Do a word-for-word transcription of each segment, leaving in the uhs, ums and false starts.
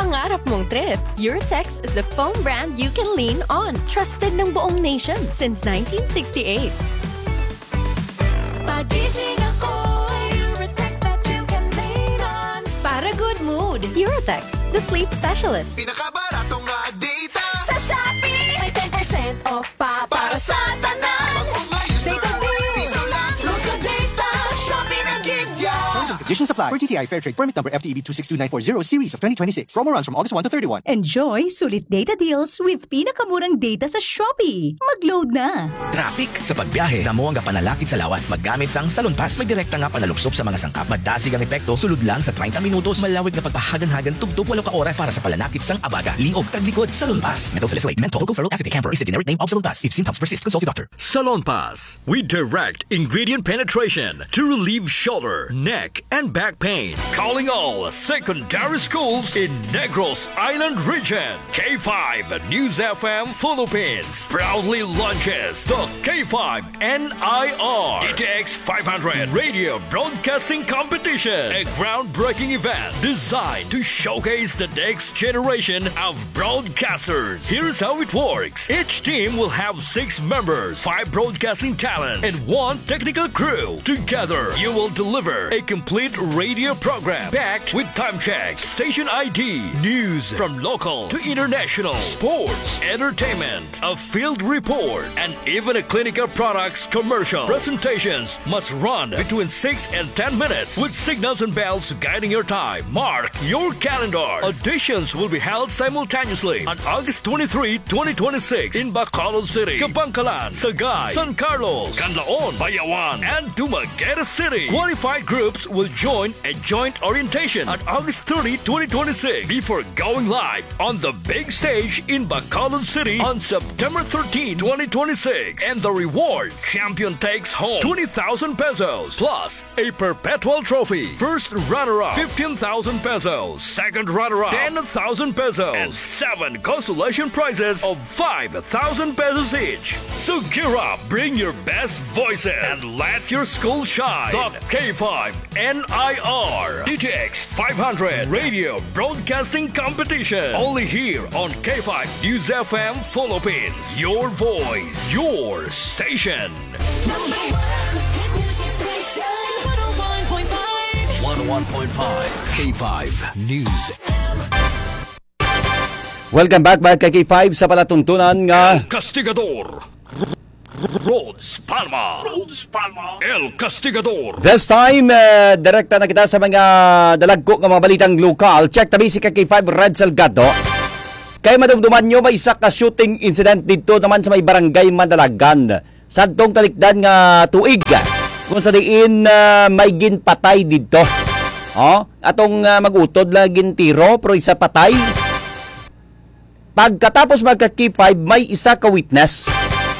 Pangarap mong trip? Eurotex is the foam brand you can lean on. Trusted ng buong nation since nineteen sixty-eight. Pagising ako, Eurotex that you can lean on. Para good mood, Eurotex, the sleep specialist. Pinakabarato nga data. Sa Shopee, may ten percent off pa para sa tanan. Mag-umay sa Data deal. Piso lang. Look at data. Shopee na gid ya. Terms and conditions apply. Per T T I Fair Trade Permit Number F T E B two six two nine four zero series of twenty twenty-six. Promo runs from August one to thirty-one. Enjoy sulit data deals with pinakamurang data sa Shopee. Mag-load na! Traffic sa pagbiyahe, damo ang panalakit sa lawas. Maggamit sang Salon Pass. May direkta nga panalupsop sa mga sangkap. Madasig ang epekto, sulod lang sa treinta minutos. Malawig nga pagpahagan-hagan, tubtob walo ka oras para sa panalakit sang abaga, liog, kag likod. Salon Pass. Menthol salicylate, menthol, tocoferol acetate, camphor is the generic name of Salon Pass. If symptoms persist, consult your doctor. Salon Pass. We direct ingredient penetration to relieve shoulder, neck, and back pain. Calling all secondary schools in Negros Island Region. K five News F M Philippines proudly launches the K five N I R D T X five hundred Radio Broadcasting Competition, a groundbreaking event designed to showcase the next generation of broadcasters. Here's how it works. Each team will have six members, five broadcasting talents, and one technical crew. Together, you will deliver a complete radio program packed with time checks, station I D, news from local to international, sports, entertainment, a field report, and even a clinical products commercial. Presentations must run between six and ten minutes with signals and bells guiding your time. Mark your calendar. Auditions will be held simultaneously on August twenty-three, twenty twenty-six in Bacolod City, Kabankalan, Sagay, San Carlos, Canlaon, Bayawan, and Dumaguete City. Qualified groups will join a joint orientation on August thirty, twenty twenty-six, before going live on the big stage in Bacolod City on September thirteen, twenty twenty-six. And the reward: champion takes home twenty thousand pesos plus a perpetual trophy. First runner-up, fifteen thousand pesos. Second runner-up, ten thousand pesos. And seven consolation prizes of five thousand pesos each. So gear up, bring your best voices, and let your school shine. The K five N I R D T X five hundred Radio Broadcasting Competition. Only here on K five News F M Philippines. Your voice, your station. Number one hit music station, one oh one point five. One oh one point five K five News. Welcome back, mga ka-K five, sa palatuntunan nga El Castigador. Rhodes Palma. Rhodes Palma. El Castigador. This time, eh, direkta na kita sa mga dalagko nga mga balitang lokal. Check tabi si ka-K five Red Salgado. Kay madumduman nyo, may isa ka shooting incident dito naman sa may barangay Madalagan. Sadtong talikdan nga tuig, kung sa diin, ah, may ginpatay didto. Oh, atong, ah, mag-utod lang gintiro, pero isa patay. Pagkatapos, mga ka-K five, may isa ka witness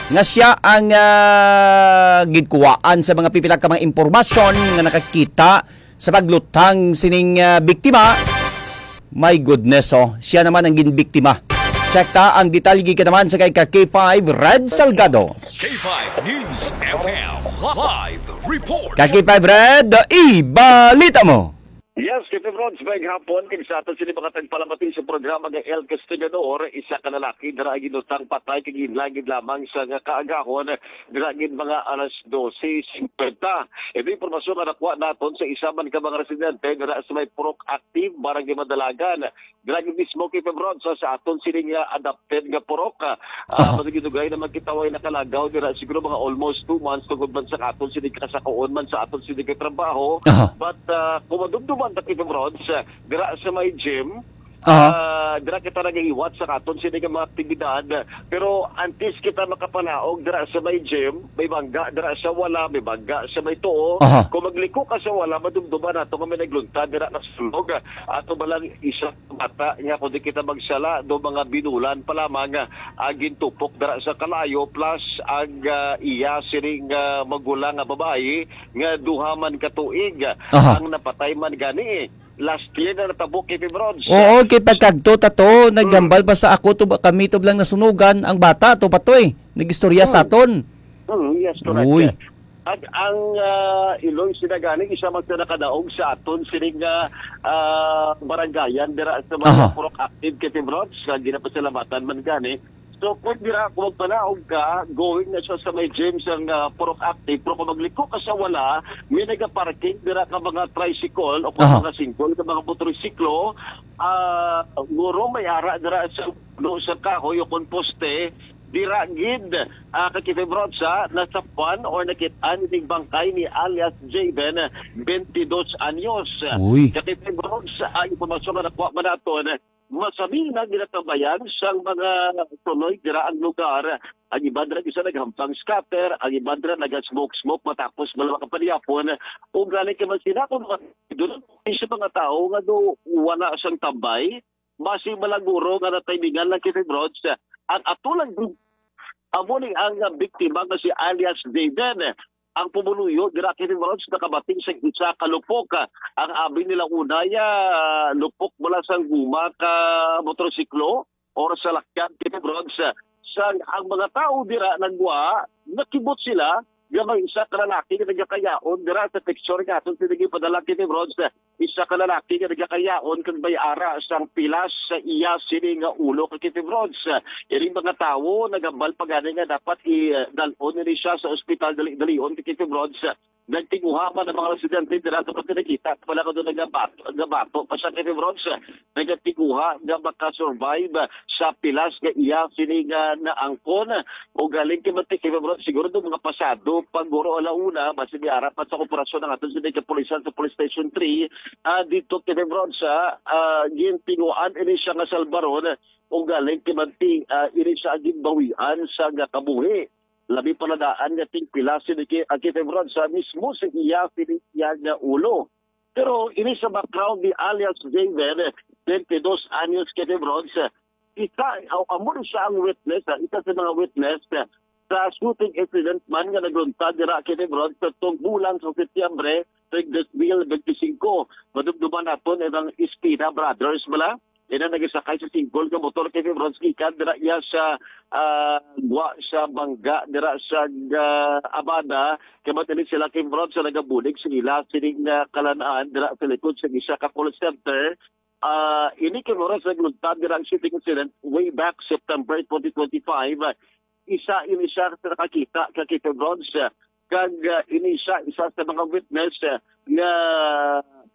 nga siya ang, ah, ginkuwaan sa mga pipila ka mga impormasyon nga nakakita sa pagluthang sining, ah, biktima. My goodness, oh. Siya naman ang ginbiktima. Check ta ang detalye gikan naman sa kay ka K five Red Salgado. K five News F M live report. Ka K five Red, ibalita mo. Yes, K five Rods, maayong hapon. Kag sa aton sini mga tagpalamati sa programa nga El Castigador, isa ka lalaki dira ang ginluthang patay kag hinlangin lamang sa nga kaagahon, dira gid mga alas dose singkwenta. Ito impormasyon nga nakuha naton sa isa man ka mga residente dira sa may Purok Active, Barangay Madalagan. Dira gid mismo, K five Rods, sa, sa aton sini nga adapted nga purok, ah, ah, Aha. Masigidugay na magkitaway nakalagaw dira siguro mga almost two months tungod man sa aton sini kasakuon man sa aton sini katrabaho. Aha. But, ah, kung madumduman ta, K five Rods, ah, dira sa may gym, Aha. ah, dira kita nagahiwat sa aton sini nga mga aktibidad. Pero antes kita makapanaog dira sa may gym, may bangga dira sa wala, may bangga sa may tuo. Aha. Kung magliko ka sa wala, madumduman nato nga may nagluntad dira nasunog. Ato ba lang isa bata nga kung di kita magsala, do mga binulan pa lamang, ah, ang gintupok dira sa kalayo, plus ang, ah, iya sining, ah, magulang nga babayi nga duha man ka tuig Aha. ang napatay man gani. Last year na natabo, K five Rods. Oo, kay pagkagto ta to, Mm. naghambal pa sa ako to, kami to lang nasunugan, ang bata to pa to eh. Nag-istorya sa Mm. aton. Mm, yes, correct. Uy. At ang, ah, Iloy Sinagani, isa man sa nakadaog sa aton sining, ah, ah, barangayan dira sa mga Aha. Purok Active, Kevin Rods, nga ginapasalamatan man gani. So, kung dira, kung magpanaog ka, going na siya sa may gym sang, ah, Purok Active, pero kung magliko ka sa wala, may nagaparking dira ka mga tricycle o kung Aha. mga single ka mga motorsiklo, ah, guro may ara dira sa puno sa kahoy o kung poste, dira gid, ah, ka Kevin Rods, ha, nasapan or nakit-an ning bangkay ni alias Javen, twenty-dos anyos. Uy. Ka Kevin Rods, ang impormasyon nga nakuha man naton, masami na ginatambayan sang mga tunoy dira ang lugar. Ang iban ra gisa naghampang scatter, ang iban ra naga-smoke-smoke matapos malawa ka panihapon. Ug gani kay man sila kung mga, doon sa mga tao nga do wala sang tambay, basi malaguro nga natimingan lang, Kevin Rods. Ang ato lang, amo ni ang biktima nga si alias Jaden, ang pumuluyo dira, Kevin Rods, nakabating sa isa ka lupok. Ang abi nila unay, ah, lupok mula sang guma ka motorsiklo or salakyan, Kevin Rods. Sang ang mga tao dira nagwa, nakibot sila nga may isa ka lalaki nga nagakayaon dira sa picture nga aton sila gipadala, Kevin Rods. Isa ka lalaki nga nagakayaon kag may ara sang pilas sa iya sini nga ulo, ka Kevin Rods. Iring mga tawo nagambal pa gani nga dapat idalon nini siya sa ospital dali-dalion, ka Kevin Rods. Nagtinguha man ang mga residente dira sa pagkakita pala kuno nagabato, nagabato pa siya, Kevin Rods. Nagtinguha nga makasurvive sa pilas nga iya sini nga naangkon. O galing kay Mantik, Kevin Rods, siguro do mga pasado pag guro ala una, basi may ara pa sa operasyon ang aton sini kapulisan sa Police Station three, ah, dito, Kevin Rods, ah, ah, gintinguhan ini siya nga salbaron. O galing kay Mantik, ah, ini siya ang ginbawian sa nga kabuhi. Labi pa na daan nga tingpila sini ki-, ah, Kevin Rods, sa mismo sa iya sini iya nga ulo. Pero ini sa background ni alias Javen, twenty-dos anyos, Kevin Rods, isa, aw, amo ni siya ang witness, ah, isa sa mga witness, ah, sa shooting incident man nga nagluntad dira, Kevin Rods, sa tungbulan sa Setyembre, tuig dos mil benti singko. Madumduman naton ang Espina Brothers bala. Ina nagasakay sa single nga motor, Kevin Rods, gikan dira iya sa, ah, gwa sa bangga dira sa, ah, Abada. Kay matili sila, Kevin Rods, sa nagabulig sa ila sining, ah, kalanaan dira sa likod sa isa ka call center. Ah, ini, Kevin Rods, nagluntad dira ang shooting incident way back September twenty twenty-five. Isa ini siya sa nakakita ka Kevin Rods, kag, ah, ini siya isa sa mga witness, ah, nga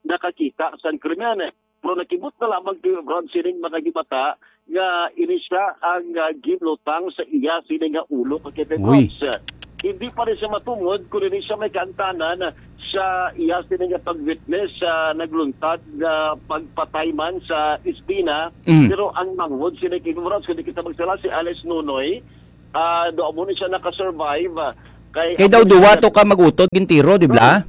nakakita sang krimen. Pero nakibot na lamang, Kevin Rods, sining mga himata nga ini siya ang, ah, ginlutang sa iya sini nga ulo, ka Kevin Uy. Rods. Hindi pa rin siya matungod kung hindi siya may kaangtanan sa iya sini nga pag-witness sa nagluntad nga pagpatay man sa Espina. Mm. Pero ang manghod sini, Kevin Rods, kung di kita magsala, si Alice Nunoy, ah, do amo ni siya nakasurvive, ah, kay Kay daw amo duwa siya to ka mag-utod gintiro, di ba?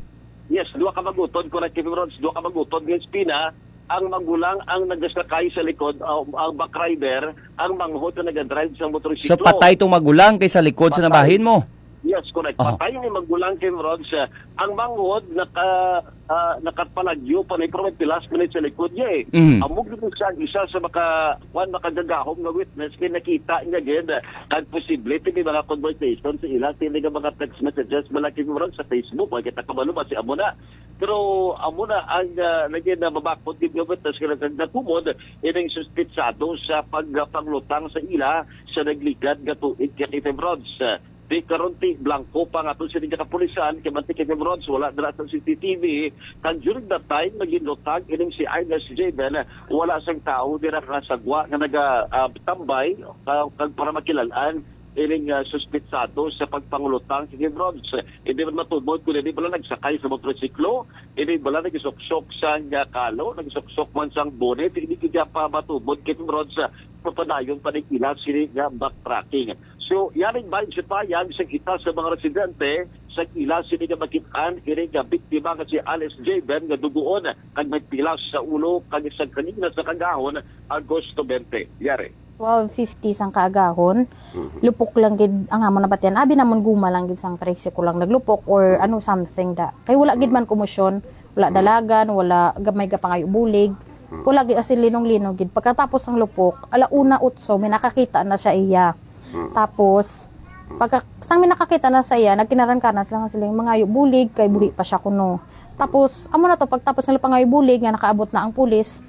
Yes, duha ka mag-utod, correct, Kevin Rods, duha ka mag-utod nga Espina, ang magulang ang nagasakay sa likod, ah, ang back rider, ang manghod ang nagadrive sa motorsiklo. So, patay tong magulang kay sa likod sa Patay. nabahin mo? Yes, correct. Aha. Patay ni magulang, Kevin Rods, ah, ang manghod naka, ah, nakapalagyo pa ni, pero may pilas man ni sa likod niya eh. Mm. Amo gyud siya ang isa sa maka, kwan, makagagahom nga witness kay nakita niya gid, ah, kag posible may mga conversation sa ila, sini nga mga text messages, malaki mo sa Facebook, wala kita kabalo ba si amo na. Pero amo na ang, ah, naging nababakod gid nga witness kay nag-, natumod ining suspitsado sa pag-, panglutang sa ila sa nagligad nga tuig, ka Kevin Rods. Di karon ti blanco pa nga ato sini nga kapulisan, kay mantik, Kevin Rods, wala dira sa C C T V. Kag during that time, naginlutang ining si Ines Javen, wala sang tawo dira nga sagwa nga naga, ah, tambay, ah, kag para makilalan ining, ah, suspitsado sa pagpangulutang, Kevin Rods. Hindi man matumod kung hindi pala nagsakay sa motorsiklo, hindi pala nagsuksok sa, ah, kalo, nagsuksok man sang bonnet, hindi kaya pa matumod, Kevin Rods, sa papadayon pa ning ila sini nga backtracking. So, yaning bahin sa payag sa kita sa mga residente sa ila sini nga makit-an, ini nga biktima nga si Alice Javen nga duguon kag may pilas sa ulo kag sa kanina sa kagahon, Agosto twenty. Yari. Twelve fifty sang kaagahon, Mhm. lupok lang gid ang amon nabatian. Abi namon guma lang gid sang tricycle lang naglupok or ano, something da. Kay wala gid man komosyon, wala Mhm. dalagan, wala ga-, may gapangayo bulig. Mhm. Wala gid, as in, linong-linong gid. Pagkatapos ang lupok, ala una utso, may nakakita na siya iya. Mhm. Tapos, Pagka, sang may nakakita na sa iya, nagkinaran-karan sila nga siling, "Mangayo bulig, kay buhi pa siya kuno." Tapos, amo na to, pagtapos nila pangayo bulig, nga nakaabot na ang pulis,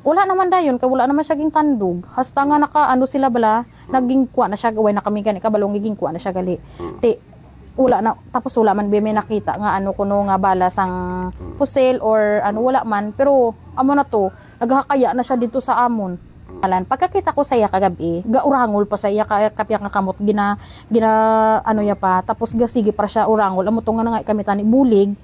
wala naman dayon, kay wala naman siya gintandog. Hasta nga naka, ano sila bala, naging kuha na siya, way na kami gani kabalo nga gingkuha na siya gali. Ti, wala na, tapos wala man ba may nakita nga ano kuno nga bala sang pusil or ano, wala man. Pero, amo na to, naghakaya na siya dito sa amon. Alan, pagkakita ko sa iya kagabi, gaurangol pa sa iya ka, kapya nga kamot, gina, gina, ano ya pa, tapos gasigi para siya urangol, amo to nga na nga kami tani bulig,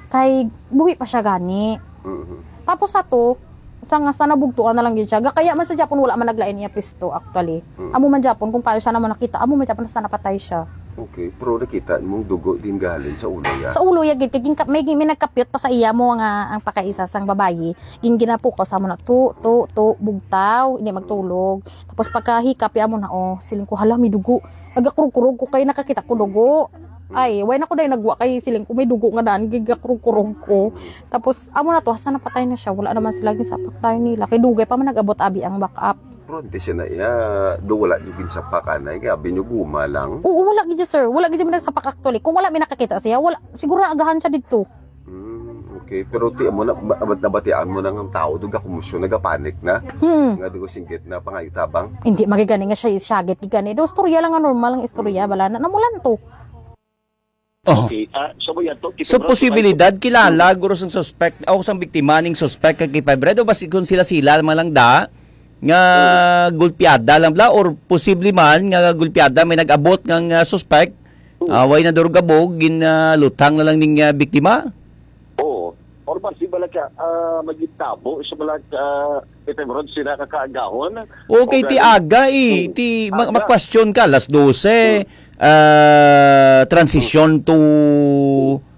kay buhi pa siya gani. Mhm. Tapos ato, sa nga sa nabugtuan na lang gid siya, gakaya man sa Japon wala man naglain iya pisto actually. Amo man Japon kung paano siya naman nakita, amo man Japon sa napatay siya. Okay, pero nakita mong dugo din galing sa ulo ya? Sa ulo ya gid, kay gin-, may, may nagkapyot pa sa iya mo nga ang pakaisa sang babayi. Gin-, ginapukaw sa amo na, tu, tu, tu, bugtaw, hindi magtulog. Tapos pagkahikap ya mo na, oh, siling ko, "Hala, may dugo." Nagakurog-kurog ko kay nakakita ko dugo. Ay, why na ko dahil nagwa kay siling ko, "May dugo nga daan," gigakurog-kurog ko. Tapos, amo na to, hasta napatay na siya. Wala naman sila ginsapak tayo nila. Kay dugay pa man nag-abot abi ang backup. Pero hindi siya na iya, do wala yung ginsapak, anay, kaya abi nyo guma lang. Oo, wala gid, sir. Wala gid man nagsapak actually. Kung wala may nakakita siya, wala, siguro agahan siya dito. Hmm, okay. Pero ti mo na, ma-, ma-, nabatian mo na nga ang tao, do gakumusyon, nagapanik na. Hmm. Nga di ko singgit na pangayo tabang. Hindi magigani nga siya, siya gid gani. Do, istorya lang nga normal ang istorya, bala na, namulan to. Oh. Okay, ah, so, mo yan to, So, Kitebro, posibilidad, may kilala guro sang suspect, o sang biktima ning suspect kay Kay Five Red, o basi kung sila-sila man lang da, nga gulpiada lang bla, or posible man nga gulpiada may nag-abot nga, nga suspect, ah, way na durugabog, gin, ah, luthang na lang ning, ah, biktima? Oo. Or basi bala ka, ah, magitabo sa bala ka, Kitebro, sila kakaagahon. Okay, O ti gani-, aga eh. Hmm. Ti ma-, Aga. ma-question ka, alas dose, Hmm. ah, transition to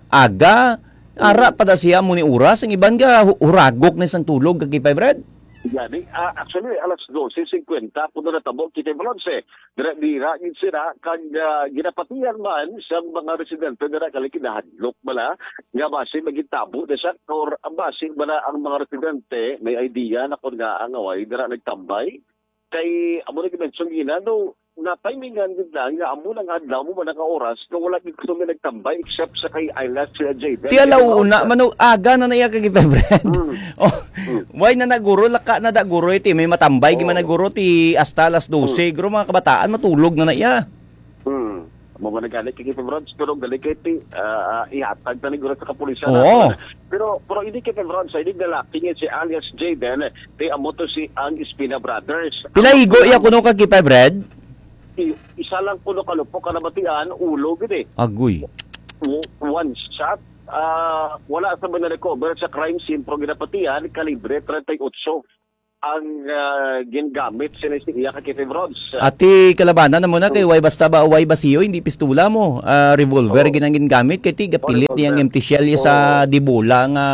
aga. Ara Hmm. pa da siya mo ni oras. Ang iban nga hu-, huragok na sang tulog, kag Kay Five Red. Gani, ah, actually, alas dose singkwenta, puno na tabo, Kitebro, eh. Dira, dira, gid sila, kag, ah, ginapatihan man sa mga residente, dira, kali kinahadlok bala, nga basi magitabo na siya, or basi bala ang mga residente, may idea na kung nga ang away, dira, nagtambay. Kay, amo na gimension gina, no, na timingan gid lang nga amo lang adlaw mo man ang oras nga wala gid kami nagtambay except sa kay Ayla, sila Jayden. Ti alauna, mano, aga na na iya kag Kay Five Red. Mm. Oh, Mm. why na naguro, laka na da guro, iti may matambay, gid man Oo. naguro, ti hasta alas dose, Mm. guro mga kabataan, matulog na na iya. Mm. Amo man nagani kay Kay Five Red, pero gali kay ti, ah, ah, ihatag na ni guro sa kapulisan Oo. naton. Pero, pero hindi kay Five Red, sa hindi lalaki niya si alias Jayden, ti amo to si ang Espina Brothers. Pila Ang igo iya kuno kag Kay Five Red? I-, isa lang kuno ka lupok ka nabatian, ulo gid eh. Agoy. W-, one shot. Ah, wala sa mga recover sa crime scene, pero ginapatian, kalibre treinta y ocho ang, ah, gingamit sini si iya ka Kitty Broads. Ati kalabanan na mo na kay Hmm. way basta ba, way basiyo, hindi pistola mo. Ah, revolver Oo. gid ang gingamit, kay ti gapilit Oh, niyang revolver. empty shell sa Oo. dibola nga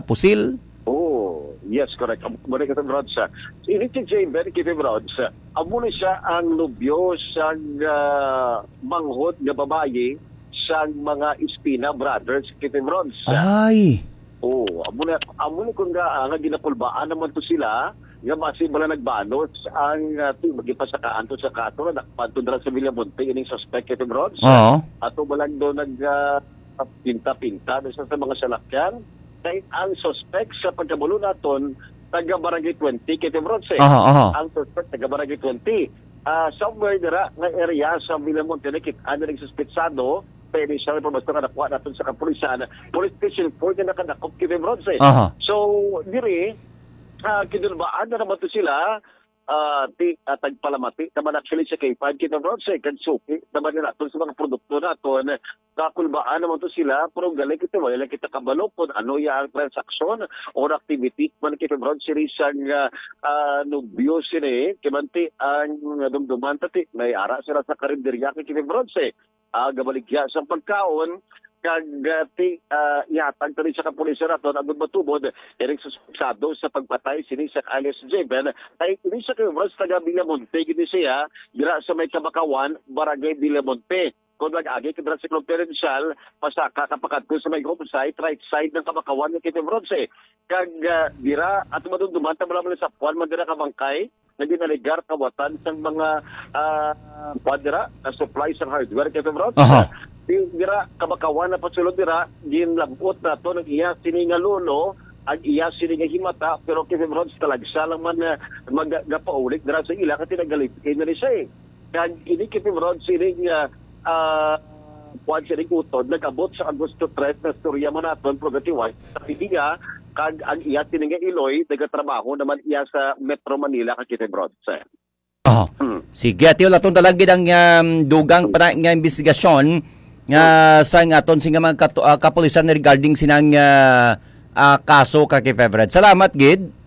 pusil. Oh, yes, correct. Am-, muna ka sa Broads, ah. Ini si Jay Ben Kitty Broads, ah, amo na siya ang nobyo sa, ah, manghod nga babayi sa mga Espina Brothers, Kitty Broads. Ay! Oh, amo na, amo na kung nga, ah, nga ginakulbaan naman to sila, nga basi bala nagbanos ang, ah, ti-, magipasakaan to sa kaso na nakpanto dira sa Villamonte ining suspect, Kitty Broads. Oo. Ato ba lang do nag, ah, pinta-pinta do sa, sa mga salakyan? Kay ang suspect sa pagkabalo naton, taga Barangay twenty, Kitty Broads, eh. Aha, aha. Ang suspect taga Barangay twenty. Ah, somewhere dira nga area sa Villamonte, nakit-an na ning suspetsado, kay initial information nga nakuha naton sa kapulisan, police station four na nakadakop, Kitty Broads, eh. Aha. So, diri, ah, kinulbaan na naman to sila, ah, ti-, ah, tagpalamati naman actually sa K five, Kitty Broads, eh, kag suki naman na naton sa mga produkto naton, kakulbaan naman to sila, pero galing kita, wala lang kita kabalo kung ano ya ang transaksyon or activity man, Kitty Broads, sini sang, ah, ah, nobyo sini, kay man ti ang dumduman ta ti, may ara sila sa karinderya kay Kitty Broads, eh. Ah, gabaligya sa pagkaon, kag, ah, ti, ah, ihatag tani sa kapulisan naton, agud matubod, iring suspetsado sa pagpatay sini sa alias Javen, ay ini sa Kitty Broads taga Villamonte, gid ni siya, dira sa may Kabakawan, Barangay Villamonte. Kung nag-agi ka dira sa Cyclone Prudential, pasaka ka pa kadto sa may home site, right side ng Kabacawan nga K five Rods, eh. Kag, ah, dira, ato madumduman, tama naman sa puan man dira ka bangkay, nga ginaligar kawatan sang mga, ah, puan dira, ah, supply sang hardware, K five Rods. Aha. Di, dira, Kabacawan na pasulod dira, ginlab-ot nato ng iya sini nga lolo, ang iya sini nga himata, pero K five Rods talagsa lang man, ah, mag-, gapaulit dira sa ila, kasi nagalibin na ni siya, eh. Kag ini, K five Rods, sining, ah, ah, kuwan, sining utod, nag-abot sa Agosto tres na storya man naton, Prugatiway, sa iya, kag ang iya sini nga iloy, nagatrabaho naman iya sa Metro Manila, ka K five Rods. Oh. Mm. Sige, ati, wala tong dalagid ang, um, dugang pa na nga investigasyon nga sa nga aton sini nga mga katu-, ah, kapulisan regarding sinang, ah, ah, kaso, ka K five Rods. Salamat gid.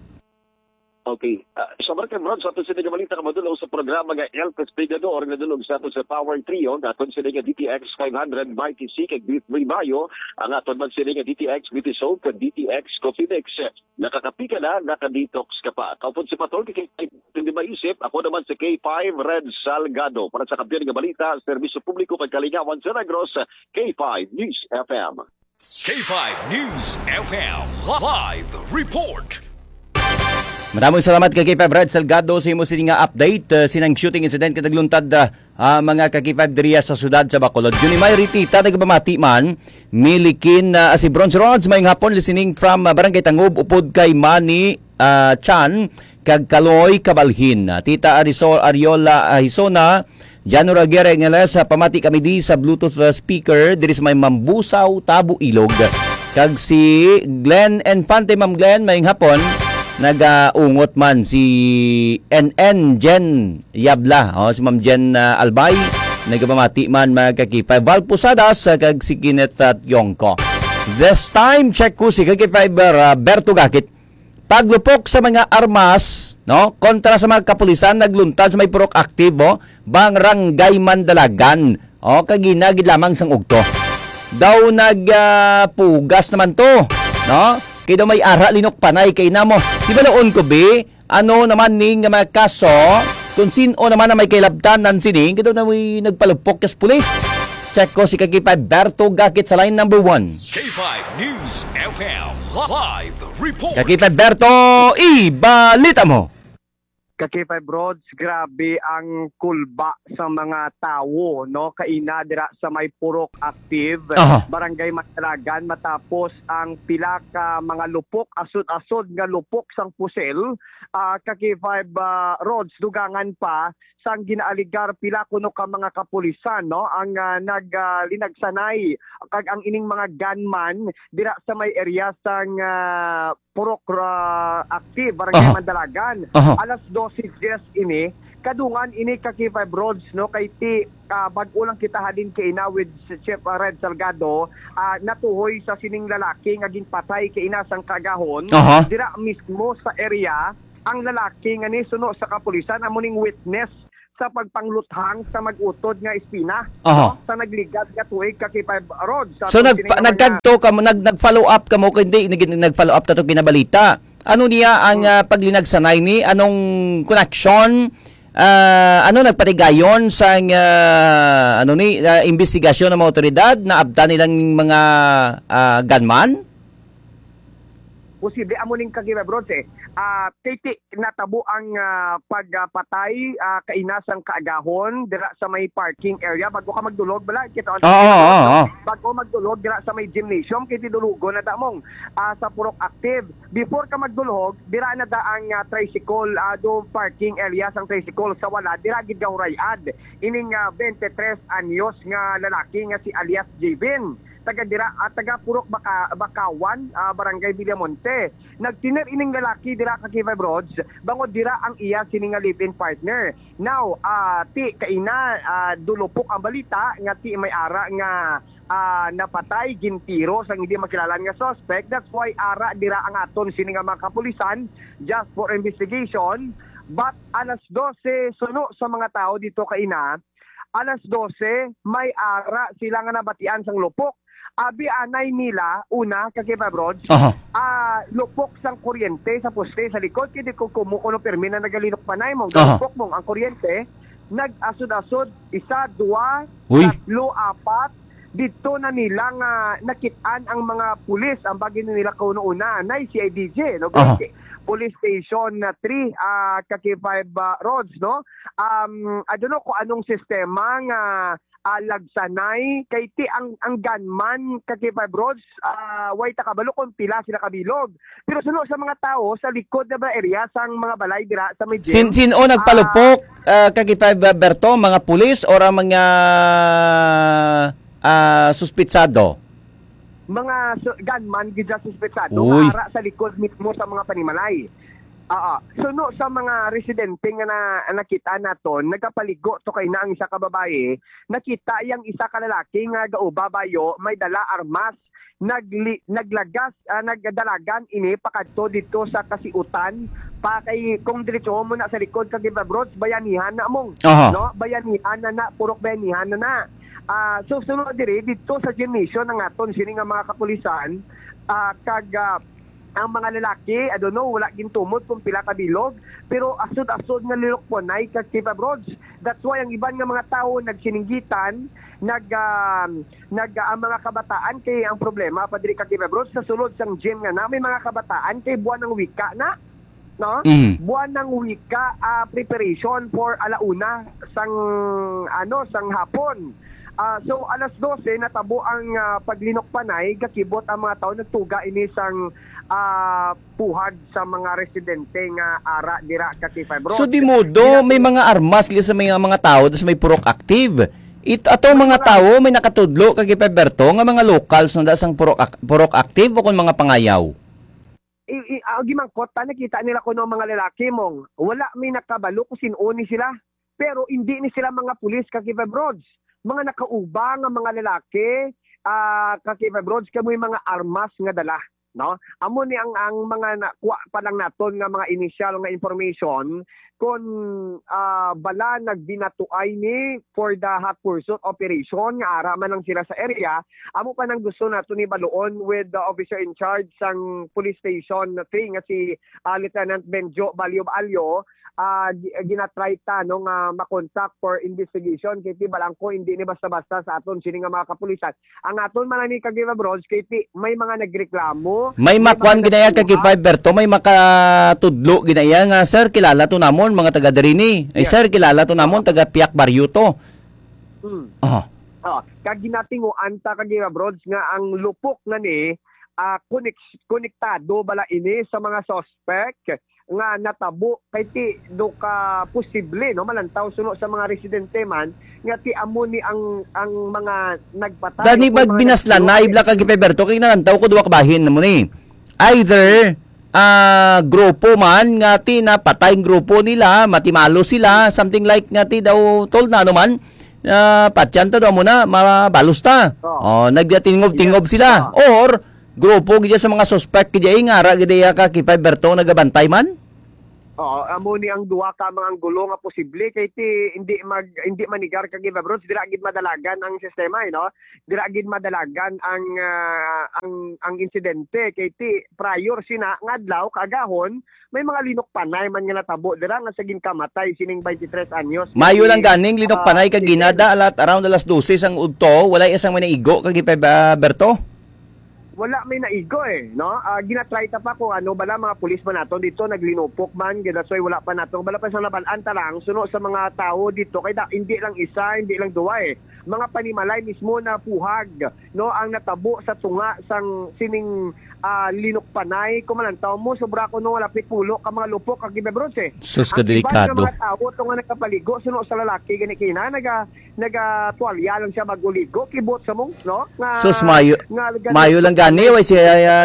Okay. Ah, sa Barangay Brad, sa aton sini nga balita, ka madulong sa programa nga El Castigador, nga dulong sa aton sa Power Trio, nga aton sini nga D T X five hundred Mighty C kag B three Bayo, ang aton man sini nga D T X Beauty Soap kag D T X Coffee Mix. Nakakapi ka na, naka-detox ka pa. Kaupod si Patol, kay hindi maisip, ako naman si K five Red Salgado. Para sa kampiyon nga balita, serbisyo publiko kag kalingawan sa Negros, K five News F M. K five News F M live report. Maraming salamat kay K five Brad Salgado sa imo sini nga update, uh, sinang shooting incident kay nagluntad, uh, uh, mga ka K five diriya sa siyudad sa Bacolod. Junimay Ritita nagpamati man, Milikin, uh, si Bronze Rods, may hapon listening from, uh, Barangay Tangub, upod kay Manny, uh, Chan, kag Kaloy Kabalhin. Uh, Tita Arisol, Ariola, uh, Hisona, Jano Raguera Ingales, sa pamati kami di sa Bluetooth, uh, speaker diri sa may Mambusaw, Tabo, Ilog. Kag si Glenn Infante, Ma'am Glenn, mayong hapon. Nagaungot man si N N Jen Yabla, oh, si Ma'am Jen, uh, Albay, nagapamati man, mga ka K five. Val Posadas, uh, kag si Kenneth, uh, Yongko. This time, check ko si ka K five, uh, Berto Gakit. Paglupok sa mga armas, no, kontra sa mga kapulisan, nagluntad sa may Purok Aktibo, Barangay Mandalagan. O, kagina gid lamang sang ugto. Daw nag, ah, pugas naman to, no? Kay daw may ara linok panay kay namo. Di ba noon ko, bi? Ano naman ni nga mga kaso? Kung sino naman ang may kailabtanan sining, kay daw na may nagpalupok kas pulis. Check ko si Kakipay Berto Gakit sa line number one. K five News F M live report. Kakipay Berto, ibalita mo. Kakipay Broads, grabe ang kulba sa mga tawo, no? Kaina dira sa may Purok Active, Aha. Barangay Matalagan, matapos ang pila ka mga lupok, asod-asod nga lupok sang pusil. Ah, Kakipay, ah, Roads, dugangan pa, sang ginaaligar pila kuno ka mga kapulisan, no, ang, ah, nag, ah, linagsanay kag ang ining mga gunman dira sa may area sang, ah, Purok, ah, Active, Barangay Aha. Mandalagan. Aha. Alas dose dies ini, kadungan ini ka K five Roads, no, kay ti, ah, bag-o lang kita halin kay ina with si Chief, ah, Red Salgado, ah, natuhoy sa sining lalaki nga ginpatay kay ina sang kaagahon. Aha. Dira mismo sa area ang lalaki nga nisuno sa kapulisan amo ning witness sa pagpangluthang sa mag-utod nga espina, Aha. no? Sa nagligad nga tuig ka K five Road. Sa So, atong nagpa-, sining mga nagkagto ka mo, nag-, nag-follow up ka mo, kundi nag-, nag-follow up ta to kinabalita. Ano niya ang, Hmm. ah, paglinagsanay ni? Anong koneksyon? Ah, ano nagpatigayon sang, ah, ano ni, ah, investigasyon ng mga otoridad? Naabtan nilang mga, ah, gunman? Posible amo ning kagina, Bronze, eh. Ah, kay ti natabo ang, ah, pagpatay, ah, kaina sang kaagahon dira sa may parking area. Bago ka magdulog, bala, kita Oo, oo, oo. Bago magdulog dira sa may gymnasium, kay ti dulugon na damong, ah, sa Purok Active. Before ka magdulog, dira na da ang, ah, tricycle, ah, do parking area sang tricycle sa wala. Dira gid gahuray-ad ining, ah, twenty-three anyos nga lalaki nga si alias Jevin. Taga dira, ah, taga Purok Baka-, Bakawan, ah, Barangay Villamonte. Nagtener ining lalaki dira ka K five Roads, bangod dira ang iya sini nga live-in partner. Now, ah, ti kaina, ah, dulupok ang balita nga ti may ara nga, ah, napatay, gintiro sang hindi makilalan nga suspect. That's why ara dira ang aton sini nga mga kapulisan just for investigation. But alas dose suno sa mga tao dito kaina, alas dose, may ara sila nga nabatian sang lupok. Abi anay nila, una, ka K five Roads, Aha. ah, lupok sang kuryente sa poste sa likod, kay di ko kumo kuno pirmi na nagalinok panay mo, Aha. lupok mo ang kuryente. nag-asod-asod, isa, dua, Uy. tatlo, apat, dito na nila nga nakit-an ang mga pulis, ang bagi nila kuno una, na C I D G, no? Aha. Police Station na three, ah, ka K five, ah, Rods, no? Um, I don't know kung anong sistema nga, ah, lagsanay, kay ti ang, ang gunman ka K five Rods, ah, way ta kabalo kung pila sila kabilog. Pero suno sa mga tao, sa likod na ba area, sang mga balay dira sa may Sin-, gym, sino nagpalupok, ah, ah, ka K five Berto? Mga pulis or ang mga, ah, suspitsado? Mga su-, gunman gid sa suspetsado, Uy. Ara sa likod mismo sa mga panimalay. Oo. Suno sa mga residente nga na, nakita naton, nagapaligo to kay na ang isa ka babayi, nakita yang isa ka lalaki nga gauba bayo, may dala armas, nagli-, naglagas, ah, nagdalagan ini pakadto dito sa kasiutan, pa kay kung diretso mo na sa likod sa Gibabrods, bayanihan na mong, Aha. no? Bayanihan na na, purok bayanihan na na. Ah, so, sunod diri, dito sa gymnasium ng aton, sini nga mga kapulisan, ah, kag, ah, ang mga lalaki, I don't know, wala gintumod kung pila ka bilog, pero asod-asod nga lilukwanay kag Gibabrods. That's why ang iban nga mga tawo nagsininggitan, nag, ah, nag, ang mga kabataan kay ang problema pa diri ka Gibabrods sa sulod sang gym nga na may mga kabataan kay buwan ng wika na, no? Mm. Buwan ng wika, ah, preparation for alauna sang, ano, sang hapon. Ah, so alas dose natabo ang, ah, paglinok panay, gakibot ang mga tawo, nagtuga ini sang, ah, puhag sa mga residente nga ara dira ka K five Road. So, di modo, Dira may mga armas li sa may mga tawo, tas may purok active. It, ato May mga mga tawo, may nakatudlo ka K five Berto, nga mga locals na da sang purok ac-, purok active o kung mga pangayaw? I, i, ah, gimangkot ta, nakita nila kuno ang mga lalaki mong wala may nakabalo kung sin-o ni sila. Pero hindi ni sila mga pulis ka K five Roads. Mga nakauba nga mga lalaki, ah, ka K five Roads, kay may mga armas nga dala, no? Amo ni ang, ang mga nakuha pa lang naton nga mga inisyal nga information, kon, ah, bala nagbinatuay ni for the hot pursuit operation nga ara man lang sila sa area. Amo pa nang gusto nato ni baluon with the officer in charge sang police station three nga si, ah, Lieutenant Benjo Balyo Balyo. Ah, gi-, ginatry ta, no, nga makontak for investigation kay ti balang ko hindi ni basta-basta sa aton sini nga mga kapulisan. Ang aton man ni ka Gibabrods kay ti may mga nagreklamo, May may makuan mga gid na iya ka nagkuha. K five Berto, may makatudlo gid na iya nga, "Sir, kilala to namon, mga taga diri ni. Ay, Yes. sir, kilala to namon, Oo. taga Piak Baryo to." Hmm. Aha. Oh, kag ginatinguan ta ka Gibabrods nga ang lupok na ni, ah, konek-, konektado bala ini sa mga suspect nga natabo kay ti do ka posible, no, malantaw suno sa mga residente man nga ti amo ni ang, ang mga nagpatay Dani o mga magbinaslanay nagpatay. bla ka Gibabrods kay nalantaw ko duwa ka bahin na mo ni. Either, ah, grupo man nga ti napatay ang grupo nila, matimalo sila, something like nga ti daw told na ano man, ah, patyan ta daw mo na, mabalos ta. Oh. Oh, nagdatingog-tingob Yeah. sila. Oh. Or grupo gid sa mga suspect gid ay nga ara gid iya ka K five Berto nagabantay man? Oo, amo ni ang duha ka mga anggulo nga posible kay ti hindi mag, hindi manigar ka Gibabrods, dira gid madalagan ang sistema, eh, no? Dira gid madalagan ang, ah, ang, ang insidente kay ti prior sina nga adlaw kaagahon may mga linok panay man nga natabo dira nga sa ginkamatay sining twenty-three anyos. Mayo lang ganing linok Ah, panay kag sige. ginada alat around alas dose sang udto, walay isang manaigo kag Gibabrods. Wala may naigo, eh, no? Ah, ginatry ta pa kung ano bala, mga pulis man nato dito, naglinupok man, that's why wala pa nato. Bala pa sa nabal-an ta lang, suno sa mga tao dito, kay da, hindi lang isa, hindi lang duwa, eh. Mga panimalay mismo na puhag, no, ang natabo sa tunga sang sining, ah, linukpanay. Kung malantaw mo, sobra ko no, lapit pulo ka mga lupok, ka Gibabrods, eh. Sus, Ang iban nga kadelikado. mga tao, to nga nagkapaligo, suno sa lalaki, gani kina, naga, nagatuwalya lang siya maguligo, kibot sa mong, no? Nga, Sus, mayo, nga, gani- mayo lang gani, way siya, ah,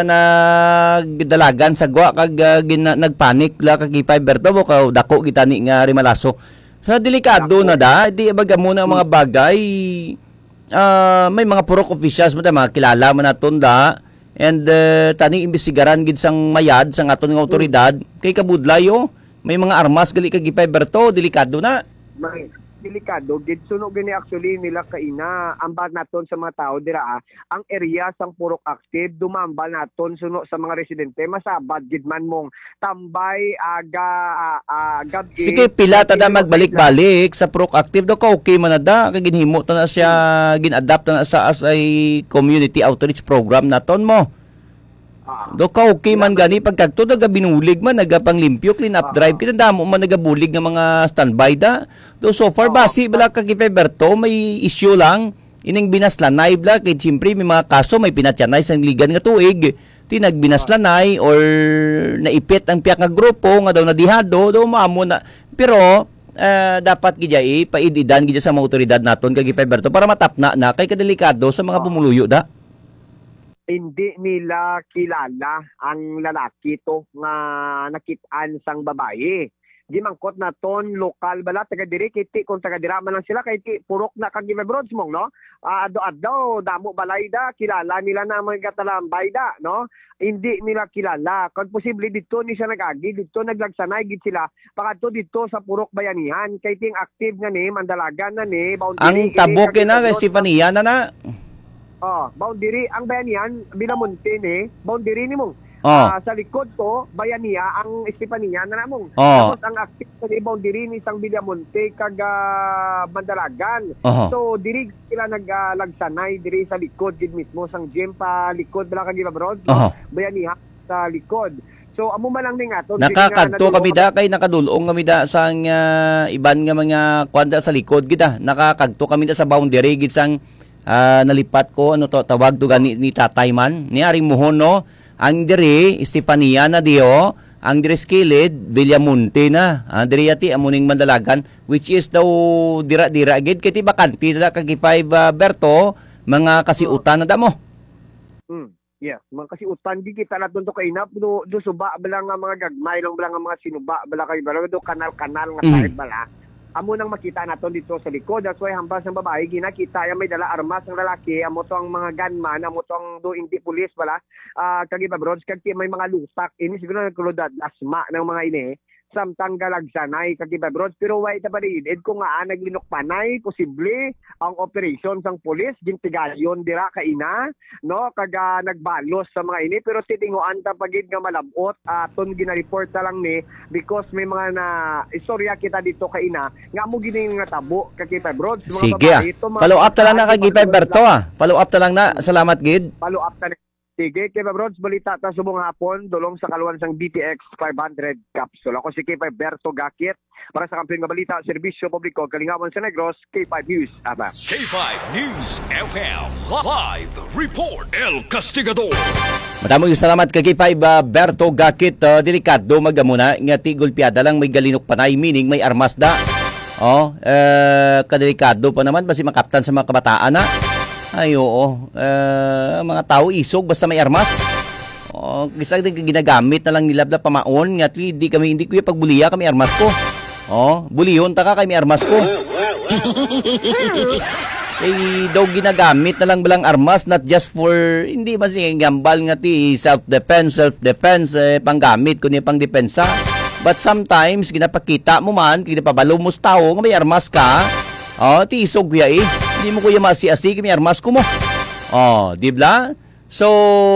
nagdalagan sa gwa, kag, ah, gina-, nagpanik la, kag K five Berto, bo, ka dako gitani nga rimalaso. Sa delikado Dako. na da, di ba gamo na ang mga Hmm. bagay, ah, may mga purok officials mo ta, mga kilala man naton da, and, eh, tani imbestigaran gid sang mayad, sang aton nga Hmm. awtoridad, kay kabudlay, oh, may mga armas gali kag K five Berto, delikado na. May, delikado gid. Suno gini actually nila kaina, ambal naton sa mga tao dira, ah, ang area sang Purok Active, dumambal naton suno sa mga residente, masabad gid man mong tambay, aga, ah, ah, gab-i, Sige, pila ta da magbalik-balik sa Purok Active do ka okay man na da, kay ginhimo ta na siya, gin-adapt ta na sa as a community outreach program naton mo. Ah. Do ka okay man gani pagkagto, naga binulig man, nagapanglimpyo, clean up drive, kinadamo man nagabulig nga mga standby da. Do so far, basi bala ka Berto, may issue lang. Ining binaslanay bala, kay siyempre may mga kaso, may pinatyanay sa ligan nga tuig, tinagbinaslanay or naipit ang piyak nga grupo nga daw nadihado, do maamo na. Pero, ah, dapat gid ya, eh, paididan gid sa mga otoridad naton kag Berto para matapna na kay kadelikado sa mga pumuluyo da. Hindi nila kilala ang lalaki to nga nakit-an sang babayi. Gimangkot naton, lokal bala, taga diri, kiti kung taga dira man lang sila, kay ti purok na kag Broadsmong, no? Ah, adlaw-adlaw, damo balay da, kilala nila na ang mga gatalambay da, no? Hindi nila kilala. Kung posible, dito ni siya nag-agi, dito naglagsanay gid sila, pakadto dito sa Purok Bayanihan, kay ting active nga ni, Mandalagan na ni, boundary Ang ini, tabok kag na kay Broadsmong. Stefania na na. Oh, boundary ang Bayanihan, Villamonte ni, boundary ni mong. Oh. Ah, sa likod to, Bayanihan ang Estefania na namong. Oh. Tapos ang active sa ni boundary ni sang Villamonte kag, ah, Mandalagan. Oho. So diri sila nag, ah, lagsanay diri sa likod gid mismo sang gym pa likod bala kag Broads, no? Oho. Bayanihan sa likod. So amo man lang ning aton. Nakakadto kami da kay nakadulong kami da sang, ah, iban nga mga kwanda sa likod gid, ah. Nakakadto kami da sa boundary gid sang ah, nalipat ko, ano to, tawag to gani ni tatay man, ni Aring Muhon, no? Ang diri, Estefania na diyo, ang diri sa kilid, Villamonte na. Ah, diri yati, amo ning Mandalagan, which is daw dira-dira gid, kay ti bakante na kag five, ah, Berto, mga kasiutan na damo. Hmm. Yes, mga kasiutan, gikita naton to kaina, do, do suba bala nga mga gagmay lang bala nga mga sinuba bala kay bala do kanal-kanal nga Hmm. side bala. Amo nang makita naton dito sa likod. That's why hambal sang babae, ginakita ya may dala armas ang lalaki, amo to ang mga gunman, amo to ang do hindi pulis bala. Ah, kag iba, bro, kag ti may mga lutak. Ini siguro nagkulod lasma ng mga ini. Samtang galagsanay kag iba, bro. Pero why ta pa diin? Ed ko nga, ah, naglinukpanay, posible ang operasyon sang pulis, gintigayon dira kaina, no? Kag, ah, nagbalos sa mga ini, pero titinguan ta pa gid nga malab-ot, ah, aton gina-report ta lang ni, because may mga na istorya kita dito kaina, nga mo gini nga tabo, kag iba, bro, sa mga Sige, ah. babae, ito, mga Follow up ta lang na babae, kag iba, mga Berto, ah. Follow up ta lang na. Salamat gid. Follow up ta na. Sige, K five Rods, balita ta subong hapon, dulong sa kaluan sang D T X five hundred capsule. Ako si K five Berto Gakit para sa Kampiyon nga Balita, Serbisyo Publiko, Kalingawan sa Negros, K five News F M. K five News F M live report. El Castigador. Madamong salamat kay K five, ah, Berto Gakit. Ah, delikado magamuna nga ti gulpiada lang may galinok panay, meaning may armas da. Oh, eh, kadelikado pa naman, basi makaptan sa mga kabataan na. Ay, oo. Eh, mga tao isog basta may armas. Oh, kisa di ginagamit na lang nila da pamaon nga ti, di kami, hindi ko yung pagbuliya kami armas ko. Oh, buliyon ta ka kay may armas ko. Kay daw ginagamit na lang balang armas, not just for, hindi man siya gambal nga ti self-defense, self-defense, eh, panggamit ko niya pang depensa. But sometimes, ginapakita mo man, ginapabalo mo sa tao nga may armas ka, oh, ti isog kuya eh. Hindi mo kuya masi-asi, may armas ko mo. Oh, di ba? So,